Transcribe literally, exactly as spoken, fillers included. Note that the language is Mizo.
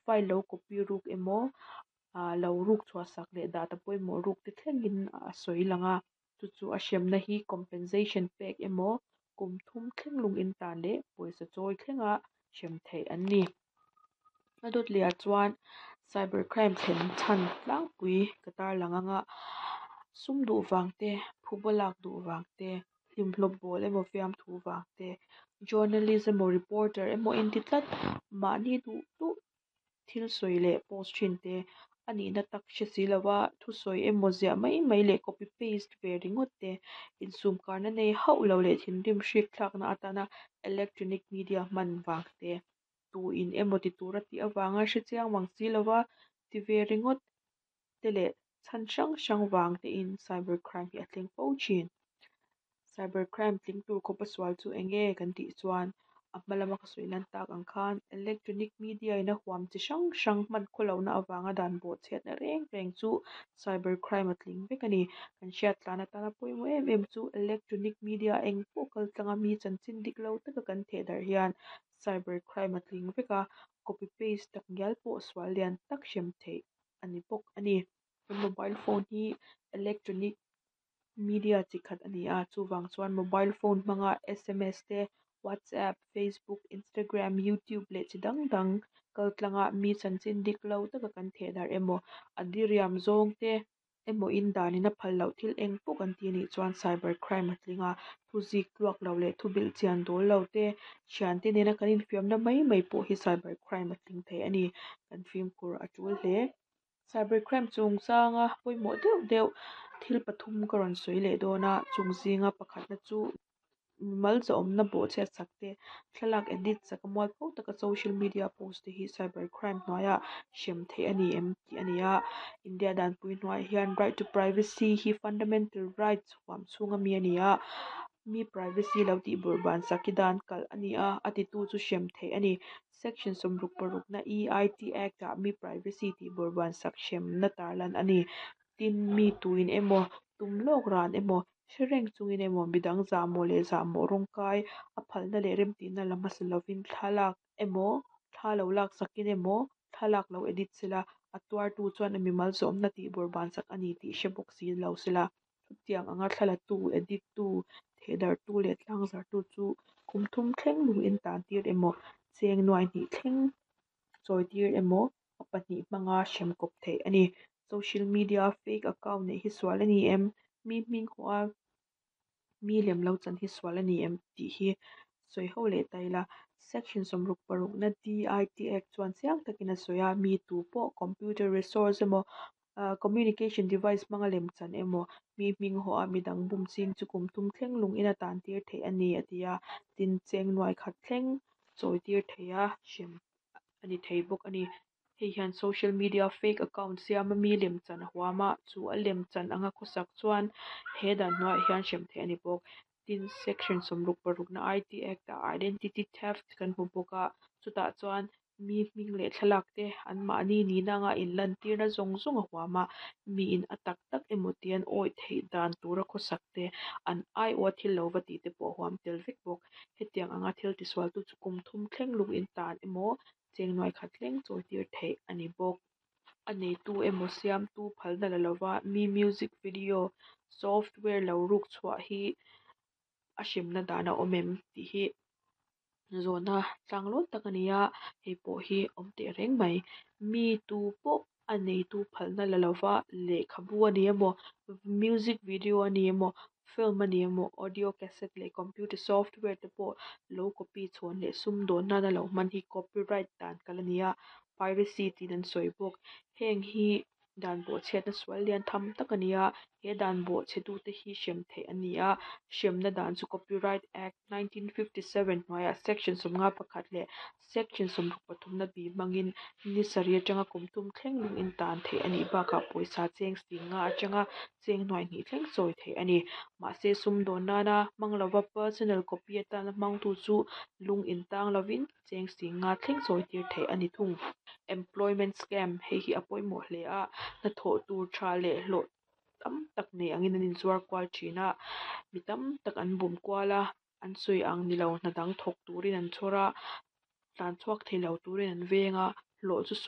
file lo copy ruk emaw ah lo ruk chhuah sak leh data pawimawh ruk te thlengin a sawi lang a chu chu a hremna hi compensation pek emaw kum thum thleng lung in tan leh pawisa chawi thlenga hrem theih an ni. A dawt leh ah chuan cyber crime thlen chhan tlangpui ka tarlang anga sum duh vang te phuba lak duh vang te hlimhlawp bawl emaw fiamthu vang te journalist emaw reporter emaw inti tlat mahni duh duh thil sawi leh post thin te a nihna tak hre si lova thusawi emaw ziah mai mai leh copy paste ve ringawt te insum karna nei hauh lo leh thinrim hrik thlakna atana electronic media hman vang te tu in emaw ti tura tih avanga hre chiang mang si lova ti ve ringawt te leh chhan hrang hrang vang te in cyber crime hi a thleng fo thin. Cyber crime tling tur khawpa sual chu enge kan tih chuan a hma lama ka sawi lan tak ang khan electronic media in a huam chi hrang hrang hman khawlohna avanga dan bawhchhiatna reng reng chu cyber crime a tling vek a ni. Kan hriat tlan atana pawimawh em em chu electronic media eng pawh kal tlanga mi chanchin dik lo taka kan theh darh hian cyber crime a tling vek a, copy paste tak ngial pawh sual lian tak hrem theih a ni bawk a ni. Kan mobile phone hi electronic media chi khat a ni a, chuvang chuan mobile phone hmanga S M S te, WhatsApp, Facebook, Instagram, YouTube leh chi dang dang kal tlanga mi chanchin dik lo taka kan theh darh emaw a diriam zawng te emaw in danin a phal loh thil eng pawh kan ti anih chuan cyber crime a tling a, thu zik tluak lo leh thu bilh chian dawl lo te thiante nena kan infiamna mai mai pawh hi cyber crime a tling thei a ni. Kan fimkhur a tul hle. Cyber crime chungchanga pawimawh deuh deuh thil pathum ka rawn sawi leh dawn a, chung zinga pakhatna chu mimal zahawmna bawhchhiat sak te, thlalak edit sak a mualpho taka social media post te hi cyber crime hnuaiah hrem theih a ni em tih a ni a. India danpui hnuaiah hian right to privacy hi fundamental rights huam chhunga mi a ni a, mi privacy lo tih bawrhban sak hi dan kalh a ni a, a titu chu hrem theih a ni. Section sawmruk parukna E I T Act ah mi privacy tih bawrhban sak hremna tarlan a ni. Tin, mi tuin emaw tum lawk ran emaw hre reng chungin emaw midang zahmawh leh zahmawh rawngkai a phalna leh remtihna la hmasa lovin thlalak emaw thla lo lak sakin emaw thlalak lo edit sela, a tuartu chuan a mimal zawmna tih bawrhban sak a ni tih hre bawk si lo sela, chutiang anga thlalatu, edit tu, thehdarhtu leh tlangzarhtu chu kum thum thleng lung in tan tir emaw cheng nuai hnih thleng chawi tir emaw a pahnih hmanga hrem kawp theih a ni. Social media fake account neih hi sual a ni em? Mi hming hawh a mi lem lo chan hi sual a ni em tih hi sawi ho leh ta ila. Section sawmruk parukna D I T Act chuan chiang takin a sawi a, mi tu pawh computer resource emaw communication device hmanga lem chan emaw mi hming hawh a midang bum ching chu kum thum thleng lung in a tan tir theih a ni a ti a, tin cheng nuai khat thleng chawi tir thei a hrem a ni thei bawk a ni. Hei hian social media fake account siama mi lem chan a huam a, chu a lem chan anga khawsak chuan he dan hnuaiah hian hrem theih a ni bawk. Tin, section sawmruk parukna I T Act ah identity theft kan hmu bawk a, chutah chuan mi hming leh thlalak te anmahni nihna anga inlan tirna zawng zawng a huam a, miin a tak tak emaw tih an awih theih dan tura khawsak te an aiawh a thil lo va tih te pawh a huam tel vek bawk. Hetiang anga thil tisualtu chu kum thum thleng lung in tan emaw cheng nuai khat thleng chawi tir theih a ni bawk. A neitu emaw siamtu phalna la lova mi music video software lo ruk chhuah hi a hremna dan a awm em tih hi zawhna tlanglawn tak a ni a, hei pawh hi awm teh reng mai. Mi tu pawh a neitu phalna la lova lehkhabu a ni emaw music video a ni emaw film a ni emaw audio cassette leh computer software te pawh lo copy chhawn leh sumdawn nana lo hman hi copyright dan kalh a ni a, piracy tiin an sawi bawk. Heng hi dan bawhchhiatna sual lian tham tak a ni a, he dan bawhchhetute hi hrem theih a ni a, hremna dan chu Copyright Act nineteen fifty seven hnuaiah section sawmnga pakhat leh section sawmruk pathumna B hmangin ni sarih atanga kum thum thleng lung in tan theih a nih bakah pawisa cheng singa atanga cheng nuai hnih thleng chawi theih a ni. Mahse sumdawn nana hmang lova personal copy atana hmangtu chu lung in tang lovin cheng singa thleng chawi tir theih a ni thung. Employment scam, hei hi a pawimawh hle a, hnathawh tur tha leh hlawh tam tak nei angin an inzuar kual thin a, mi tam tak an bum kual a, an sawi ang ni lo hna dang thawk turin an chhawr a, tlan chhuak thei lo turin an veng a, hlawh chu sawi